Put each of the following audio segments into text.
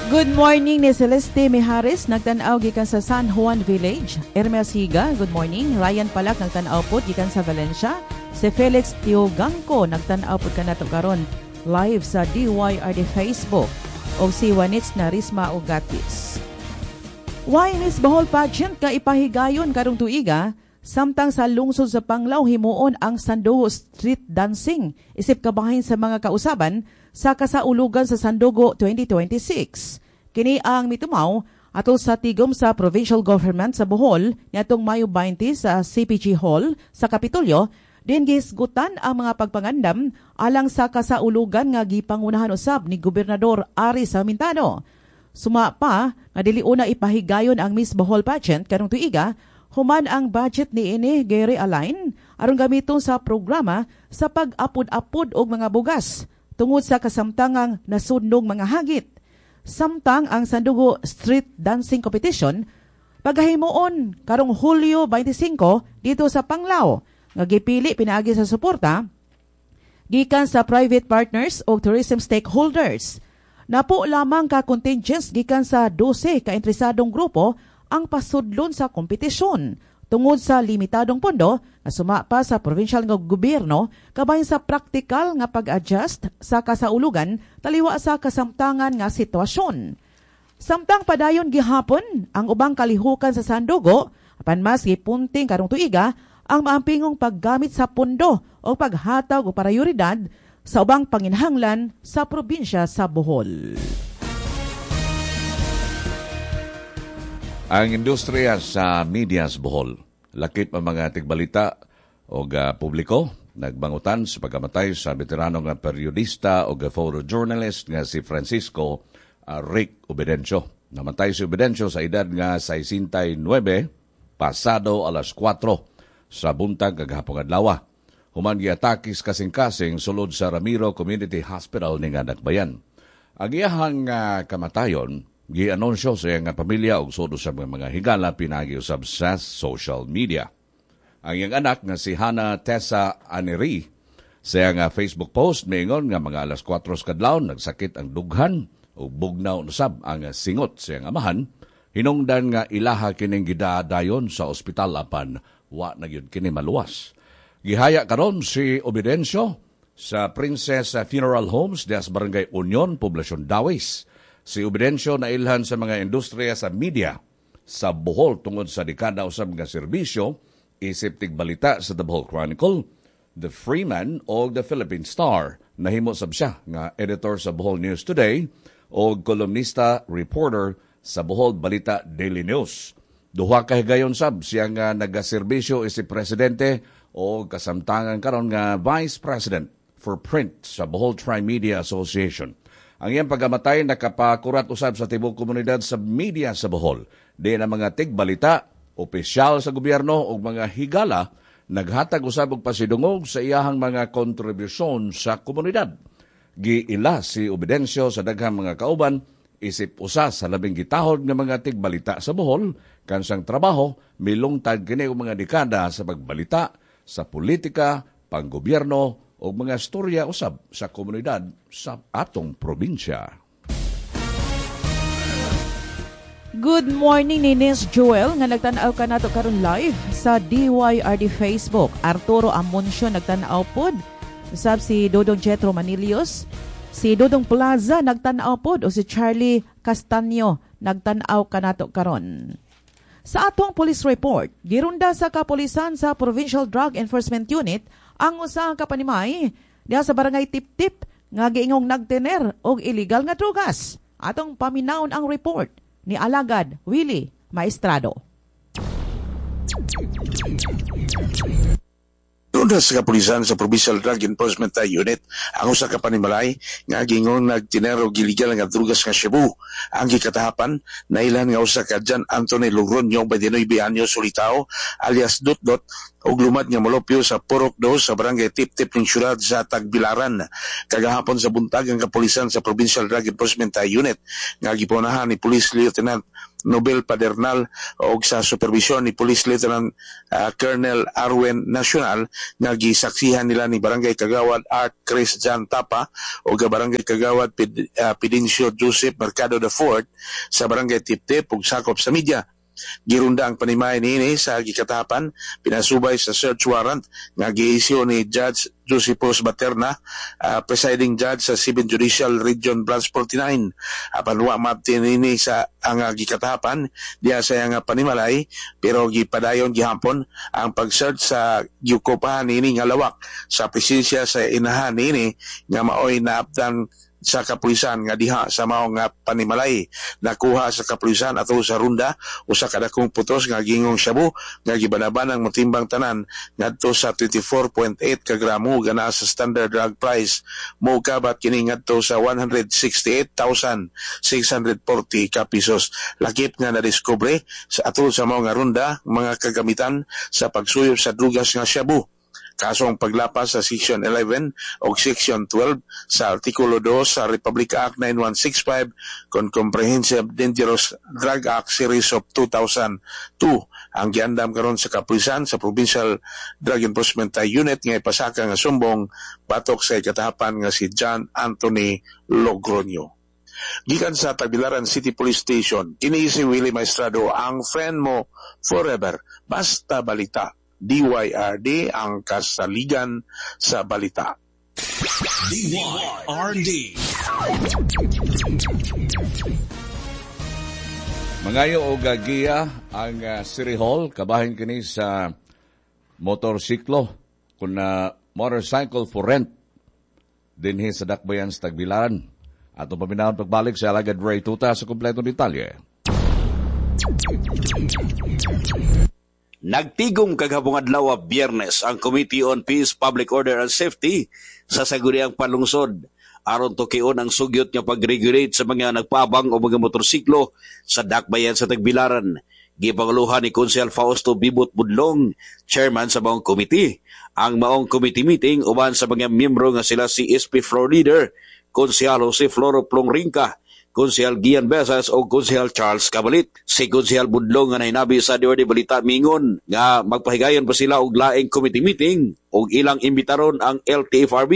Good morning ni Celeste Mijares, nagtan-aw gikan sa San Juan Village. Hermes Higa, good morning. Ryan Palak, nagtan-aw pod gikan sa Valencia. Si Felix Tiogangco, nagtan-aw pod kanato karon live sa DYRD Facebook. O si Juanits Narisma Ugatis. Why Miss Bohol Pageant ka ipahigayon karong tuiga, samtang sa lungsod sa Panglao himuon ang Sandugo Street Dancing isip kabahin sa mga kausaban sa kasaulugan sa Sandugo 2026. Kini ang mitumaw atol sa tigom sa Provincial Government sa Bohol niadtong Mayo 20 sa CPG Hall sa Kapitolyo, din gihisgutan ang mga pagpangandam alang sa kasaulugan nga gipangunahan usab ni Gobernador Ari Sarmintano. Suma pa nga dili una ipahigayon ang Miss Bohol Pageant karong tuiga, human ang budget ni ini gi-realign aron gamiton sa programa sa pag-apod-apod og mga bugas tungod sa kasamtangang nasudnong mga hagit. Samtang ang Sandugo Street Dancing Competition pagahimuon karong Hulyo 25 dito sa Panglao nga gipili pinaagi sa suporta gikan sa private partners o tourism stakeholders. Napo lamang ka contingents gikan sa 12 ka interesadong grupo ang pasudlon sa kompetisyon tungod sa limitadong pondo nga suma pa sa provincial nga gobyerno kabahin sa praktikal nga pag-adjust sa kasaulugan taliwa sa kasamtangan nga sitwasyon. Samtang padayon gihapon ang ubang kalihukan sa Sandugo, apan mas gipunting karong tuiga ang maampingong paggamit sa pondo o paghatag o prioridad sa ubang panginhanglan sa probinsya sa Bohol. Ang industriya sa media sa Bohol, lakip ang mga tigbalita o publiko, nagbangutan sa pagkamatay sa veterano nga periodista o photojournalist nga si Francisco Rick Obedencio. Namatay si Obedencio sa edad nga 69, pasado alas 4 sa buntag kagahapon adlaw. Human giatake sa kasing-kasing sulod sa Ramiro Community Hospital ning Nagbayan. Ang iyahang kamatayon gianunsyo sa iyang pamilya ug sudo sa mga higala pinaagi usab sa social media. Ang iyang anak nga si Hannah Tessa Aneri sa iyang Facebook post miingon nga mga alas 4 sa kadlawon nagsakit ang dughan ug bugnaw usab ang singot sa iyang amahan, hinungdan nga ilaha kining gidaadayon sa ospital apan wa na gyud kini maluwas. Gihaya karon si Obedencio sa Princess Funeral Homes diha sa Barangay Union, Poblacion Dawis. Si Obedencio nailhan sa mga industriya sa media sa Bohol tungod sa dekada usab nga serbisyo isip tigbalita sa The Bohol Chronicle, The Freeman o The Philippine Star. Nahimo sab siya nga editor sa Bohol News Today o kolumnista reporter sa Bohol Balita Daily News. Duha ka higayon sab siya nga nagaserbisyo isip presidente o kasamtangan karon nga Vice President for Print sa Bohol Tri-Media Association. Ang iyang pagkamatay nakapakurat usab sa tibuok komunidad sa media sa Bohol. Di na mga tigbalita, opisyal sa gobyerno o mga higala naghatag usab og pasidungog sa iyahang mga kontribusyon sa komunidad. Giila si Obedencio sa daghang mga kauban isip usa sa labing gitahod nga mga tigbalita sa Bohol kansang trabaho milungtad kini og mga dekada sa pagbalita sa politika, panggobyerno o mga storya usab sa komunidad sa atong probinsya. Good morning ni Nis Joel nga nagtan-aw kanato karon live sa DYRD Facebook. Arturo Amoncio nagtan-aw pod. Usab si Dodong Jetro Manilios, si Dodong Plaza nagtan-aw pod o si Charlie Castaño nagtan-aw kanato karon. Sa atong police report, girunda sa kapulisan sa Provincial Drug Enforcement Unit ang usa ka panimay diha sa barangay Tiptip nga giingong nagtener og illegal nga drugas. Atong paminawon ang report ni Alagad Willie Maestrado. Girunda sa kapulisan sa Provincial Drug Enforcement Unit ang usa ka panimalay nga giingon nagtiner og illegal nga drugas nga shabu. Ang gikatahapan nailan nga usa ka John Anthony Logroño, 29 anyos, Ulitao, alias Dot Dot, ug lumad nga molupyo sa Purok 2 sa Barangay Tip-Tip ning syudad sa Tagbilaran. Kagahapon sa buntag ang kapulisan sa Provincial Drug Enforcement Unit nga gipunahan ni Police Lieutenant Nobel Padernal og sa supervision ni Police Lieutenant Colonel Arwen Nacional nga gisaksihan nila ni Barangay Kagawad Art Chris Jan Tapa og Barangay Kagawad Pidencio Joseph Mercado IV sa Barangay Tiptip ug sakop sa media. Girunda ang panimay niini sa gikatapan pinasubay sa search warrant nga giisyu ni Judge Josepos Baterna, presiding judge sa 7th Judicial Region Branch 49. Apan wa maabti niini sa ang gikatapan diha sa iyang panimalay, pero gipadayon gihapon ang pag-search sa giukupahan niini nga lawak sa presensya sa inahan niini nga maoy naabtan sa kapulisan nga diha sa mao nga panimalay. Nakuha sa kapulisan ato sa runda usa ka dakong putos nga gingong shabu nga gibanabanang motimbang tanan ngadto sa 24.8 ka gramo nga naa sa standard drug price, mokabat kini ngadto sa 168,640 ka pesos. Lakip nga nadiskubre sa ato sa mao nga runda mga kagamitan sa pagsuyop sa drugas nga shabu. Kaso ang paglapas sa Section 11 o Section 12 sa Artikulo 2 sa Republic Act 9165 kon Comprehensive Dangerous Drug Act Series of 2002 ang giandam karon sa kapulisan sa Provincial Drug Enforcement Unit nga ipasaka nga sumbong batok sa ikatahapan nga si John Anthony Logroño. Gikan sa Tagbilaran City Police Station, kini si Willie Maestrado, ang friend mo forever. Basta balita. DYRD ang kasaligan sa balita. DYRD. Mangayo og giya ang City Hall kabahin kini sa motorsiklo kun motorcycle for rent dinhi sa Dakbayan sa Tagbilaran. Ato paminahon pagbalik sa alagad Ray Tuta sa kompletong detalye. Nagtigom kaghabong adlaw Biyernes ang Committee on Peace, Public Order and Safety sa Sangguniang Panlungsod aron tukion ang sugyot nga pag-regulate sa mga nagpabang o mga motorsiklo sa Dakbayan sa Tagbilaran. Gipanguluhan ni Konsehal Fausto Bibot Budlong, chairman sa maong committee. Ang maong committee meeting uban sa mga miyembro nga sila si SP Floor Leader, Konsehal Jose Floro Plongrinca, Konsehal Gian Besas o Konsehal Charles Cabalit. Si Konsehal Budlong nga nahinabi sa DYRD Balita mingon nga magpahigayon pa sila og laing committee meeting og ilang imbitaron ang LTFRB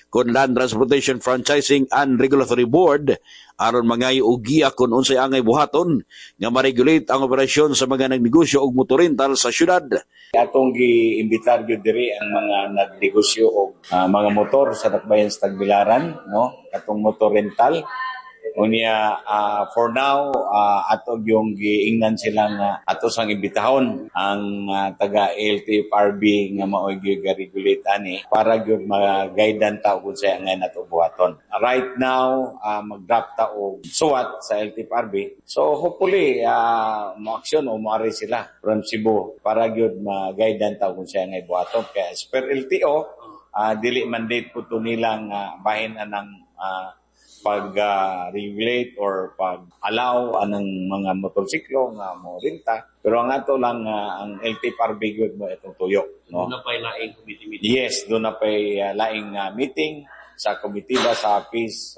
kon Land Transportation Franchising and Regulatory Board aron mangayo og giya kon unsay angay buhaton nga ma-regulate ang operasyon sa mga nagnegosyo og motorental sa syudad. Atong giimbitar gyud diri ang mga nagnegosyo og mga motor sa Dakbayan sa Tagbilaran, no, katong motor rental. Unya for now ato yung giingnan silang ato sang imbitahon ang taga LTFRB nga maoy gi-regulate ani para gyud ma-guidan ta kung sa ngay nato buhaton. Right now mag-draft ta og suwat sa LTFRB. So hopefully mo-aksyon o moari sila from Cebu para gyud ma-guidan ta kung sa ngay buhaton. Kay as per LTO dili mandate po to nilang bahin anang pag-regulate or pag-allow anang mga motorsiklo nga mo renta. Pero ang ato lang ang LTFRB gyud mo itong tuyo, no? Doon na pa'y laing committee meeting. Yes, doon na pa'y laing meeting sa komite sa Peace,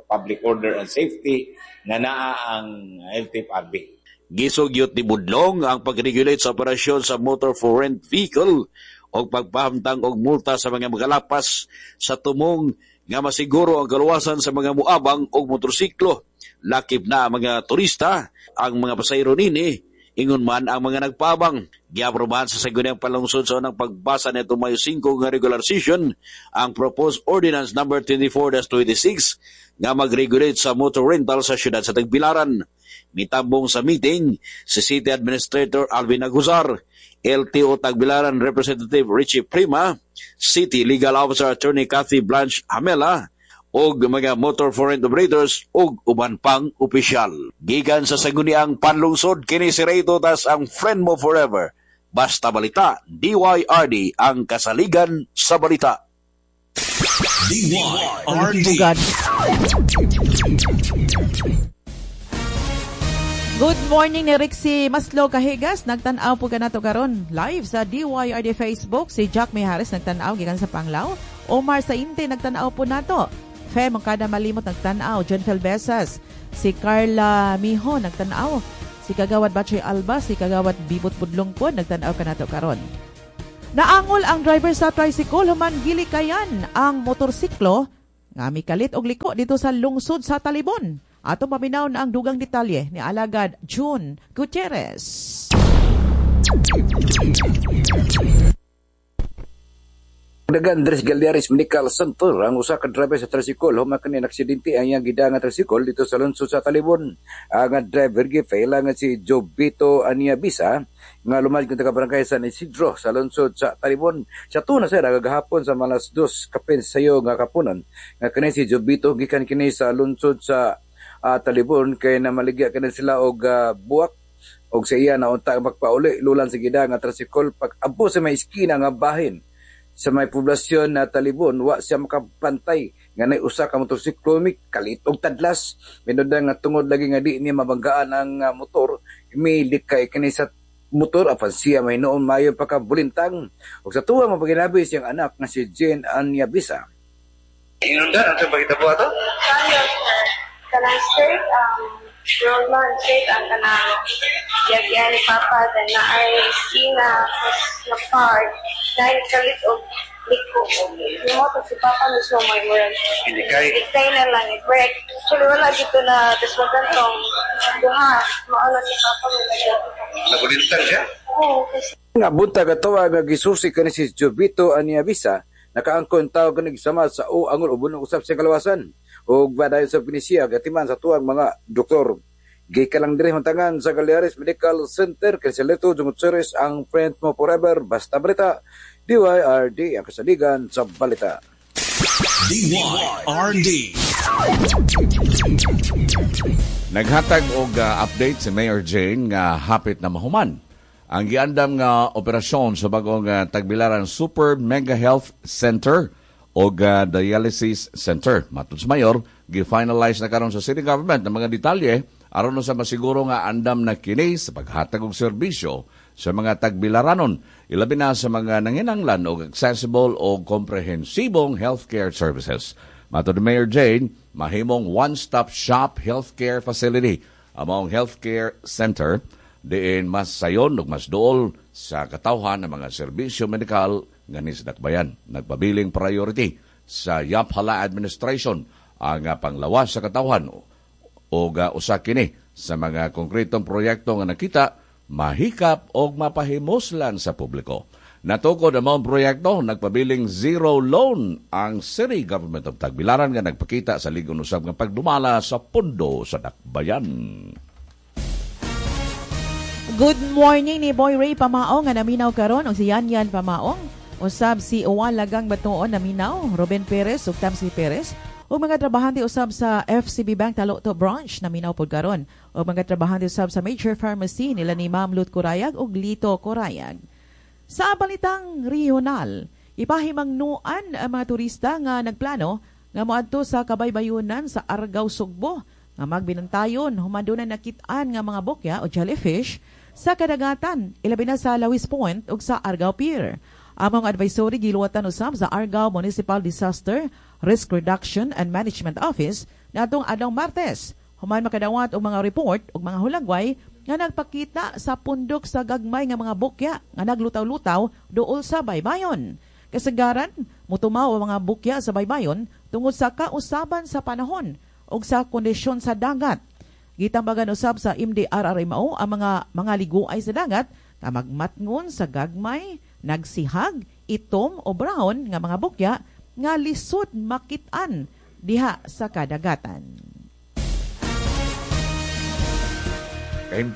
Public Order and Safety nga naa ang LTFRB. Gisugyot ni Budlong ang pag-regulate sa operasyon sa motor for rent vehicle o pagpahamtang og multa sa mga magalapas sa tumong nga masiguro ang kaluwasan sa mga muabang og motorsiklo. Lakip na ang mga turista, ang mga pasahero nini, ingon man ang mga nagpabang. Giaprobahan sa Sangguniang Panlungsod sa unang pagbasa nitong Mayo 5 nga regular session ang proposed ordinance number 24-26 nga mag-regulate sa motor rental sa siyudad sa Tagbilaran. Mitambong sa meeting si City Administrator Alvin Aguzar, LTO Tagbilaran Representative Richie Prima, City Legal Officer Attorney Kathy Blanche Hamela, og mga motor for rent operators og uban pang opisyal. Gikan sa Sangguniang Panlungsod, kini si Ray Totas, ang friend mo forever. Basta balita, DYRD ang kasaligan sa balita. DYRD. Good morning ni Rixie Maslo Kahigas, nagtan-aw po kanato karon live sa DYRD Facebook. Si Jack Mihares nagtan-aw gikan sa Panglao. Omar Sainte nagtan-aw po nato. Fe Mangkada Malimot nagtan-aw, John Felbesas, si Carla Miho nagtan-aw, si Kagawad Bachoy Alba, si Kagawad Bibot Budlong po nagtan-aw kanato karon. Naangol ang driver sa tricycle human gilikayan ang motorsiklo nga mikalit og liko dito sa lungsod sa Talibon. Ato paminaw na ang dugang detalye ni Alagad June Gutierrez. Dagan Andres Galeares Medical Center ang usa ka driver sa tricycle human kini naksidente ang iyang gidanga tricycle dito sa lungsod sa Talibon. Ang driver gifaila nga si Jobito Aniabisa nga lumad nga taga barangay San Isidro sa lungsod sa Talibon. Sa tuna sir gahapon sa malas 2:15 nga kapunan nga kini si Jobito gikan kini sa lungsod sa Talibon kay namaligya kini sila og buwak og sa iya na unta magpauli lulan sa gida nga tricycle pag abo sa may iskina nga bahin sa may poblasyon na Talibon. Wa siya makabantay nga nay usa ka motorsiklo kalit og tadlas minud nga tungod lagi nga di niya mabanggaan ang motor milikay kini sa motor apan siya may noon mayo pakabulintang. Og sa tuwa mapaginabi siyang anak nga si Jane Anyabisa. Inundan ang pagkita po ato? Kanang straight ang road man, straight ang kanang yagyan ni Papa, then naay iskina, na park, naay kalit og liko. Yung motor si Papa mismo may murag. Ilikay na lang, i-break. Actually, wala dito na daswagan tong duha. Maala si Papa may nagyan. Nagulintang siya? Oo. Kasi nga buntag atawa nga gisusi kani si Jobito Aniabisa, nakaangkon tao kani sama sa o angol ubon usap sa kalawasan. Og badayon sa Pinisia gatiman sa tuwang mga doktor. Gikan lang diri huntangan sa Galeares Medical Center kay Seleto Gutierrez ang friend mo forever. Basta balita, DYRD ang kasaligan sa balita. DYRD. Naghatag og update si Mayor Jane nga hapit na mahuman ang giandam nga operasyon sa bagong Tagbilaran Super Mega Health Center og Dialysis Center. Matod sa mayor, gi-finalize na karon sa city government ang mga detalye aron sa masiguro nga andam na kini sa paghatag og serbisyo sa mga tagbilaranon, ilabi na sa mga nanginanglan og accessible o komprehensibong healthcare services. Matod ni Mayor Jane, mahimong one-stop shop healthcare facility among healthcare center diin mas sayon ug mas duol sa katawhan ng mga serbisyo medikal nga nisdakbayan. Nagpabiling priority sa Yaphala Administration ang panglawas sa katawhan o usa kini sa mga konkretong proyekto nga nakita mahikap og mapahimuslan sa publiko. Natukod ang mga proyekto, nagpabiling zero loan ang City Government of Tagbilaran nga nagpakita sa ligon usab nga pagdumala sa pundo sa dakbayan. Good morning ni Boy Ray Pamaong nga naminaw karon og si Yan Yan Pamaong. Usab si Uwan Lagang Batuon naminaw, Ruben Perez ug Tamsi Perez ug mga trabahante usab sa FCB Bank Talokto Branch naminaw pod karon. Ug mga trabahante usab sa Major Pharmacy nila ni Ma'am Lut Corayag ug Lito Corayag. Sa balitang regional, ipahimangnuan ang mga turista nga nagplano nga moadto sa kabaybayunan sa Argao, Sugbo nga magbinantayon human dunay nakit-an nga mga bokya o jellyfish sa kadagatan, ilabi na sa Lawis Point ug sa Argao Pier. Among advisory giluwatan usab sa Argao Municipal Disaster Risk Reduction and Management Office nadtong adlaw Martes. Human makadawat og mga report ug mga hulagway nga nagpakita sa pundok sa gagmay nga mga bukya nga naglutaw-lutaw duol sa baybayon. Kasagaran, mutumaw ang mga bukya sa baybayon tungod sa kausaban sa panahon ug sa kondisyon sa dagat. Gitambagan usab sa MDRRMO ang mga liguay sa dagat nga magmatngon sa gagmay, nagsihag, itom o brown nga mga bukya nga lisod makit-an diha sa kadagatan.